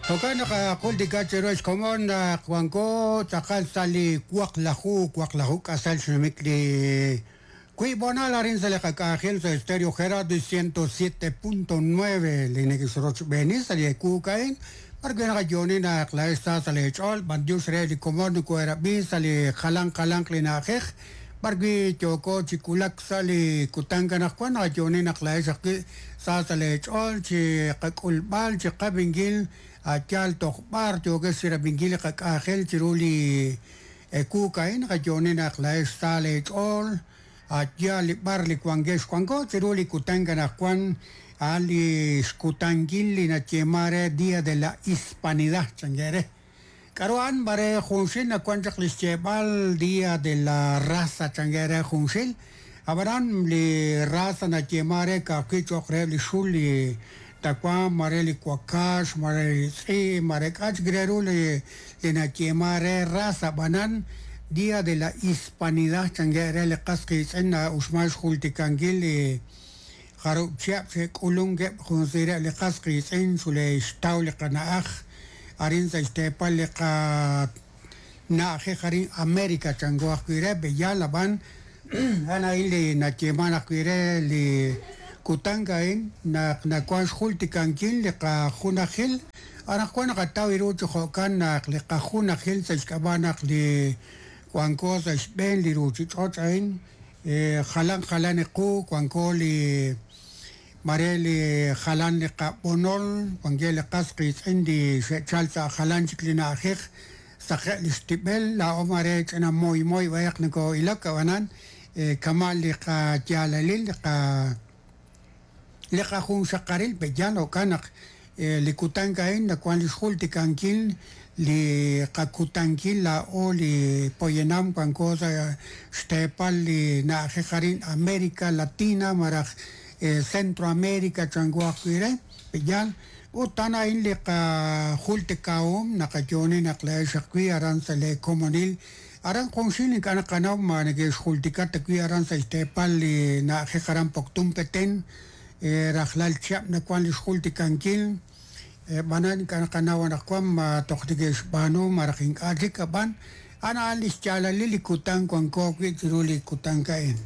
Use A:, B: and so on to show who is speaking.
A: Jo'kan naq jultika chiru xkomon naq wanko tz'aqal sa' li waqlaju waqlaju k'asal xnumik li wiib' honal arin sa' li qak'anjel sa' Estéreo Gerardo 107.9 li neke'xrochb'eeni sa' li ekuuk a'in b'arwi' naqayo'oni naq laa'ex sa sa' leech'ool b'antiox re li komon nokoherab'i sa' li jalan jalanq li na'ajej b'arwi' yooko chi wulak sa' li kutan anaqwan naqayo'oni naq laa'ex ajwi' sa sa' leech'ool chi qak'ulb'al chi qab'inkil a' yaal toj b'ar yookex chirab'inkil li qak'anjel chiru li ekuuk a'in naqayo'oni naq laa'ex sa leech'ool a' yaal li b'ar li wankex wanko chiru li kutan anaqwan a'an li xkutankil li nayeeman re Día de la Hispanidad chankere re k'aru a'an mare junxil nawan chaq li xyeeb'al Día de la Raza chankere re junxil ab'anan li raza nayeeman re ka'ajwi' cho'q reheb' li xul li tawanq mare li wakax mare li tz'i' mare k'a' chik re ru li nayeeman re raza ab'anan Día de la Hispanidad chankere re li qas qiitz'in na'uxman xjultikankil li jarub' chihab' xe'k'ulunkeb' junsireb' li qas qiitz'in xule'xtaw li qana'aj arin sa' xteepal li qana'ajej arin América chanko ajwi' re b'eyal ab'an a'an a'in li nayeeman ajwi' re li kutan a'in naq nawan xjultikankil li qajunajil anaqwan naqataw ru chi jo'kan naq li qajunajil sa' xk'ab'a' naq li wanko sa' xb'een li ruuchich'och' a'in jalan jalan qu wanko li mare li jalan li qab'onol wankeb' li qas qiitz'in li xe'chal sa' jalan chik li na'ajej saqe' li xtib'el laa'o mare ch'ina moymoy b'ayaq noko'ilok ab'anan kama' li qayaalalil li qa li qajunxaqaril b'eyal jo'kan naq li kutan a'in nawan li xjultikankil li qakutankil laa'o li poyanam wanko sa' xteepal li na'ajej arin América Latina malaj Centroamérica chanko ajwi' re b'eyal ut a'an a'in li qajultikahom naqayo'oni naq laa'ex ajwi' aran sa' li komonil aran junxil ink'a' naqanaw ma neke'xjultika ta wi' aran sa' xteepal li na'ajej aran Poptún Petén rajlal chihab' nawan li xjultikankil b'anan ink'a' naqanaw anaqwan ma toj neke'xb'aanu malaj ink'a' chik ab'an a'an a'an li xyaalalil li kutan wanko wi' chiru li kutan a'in.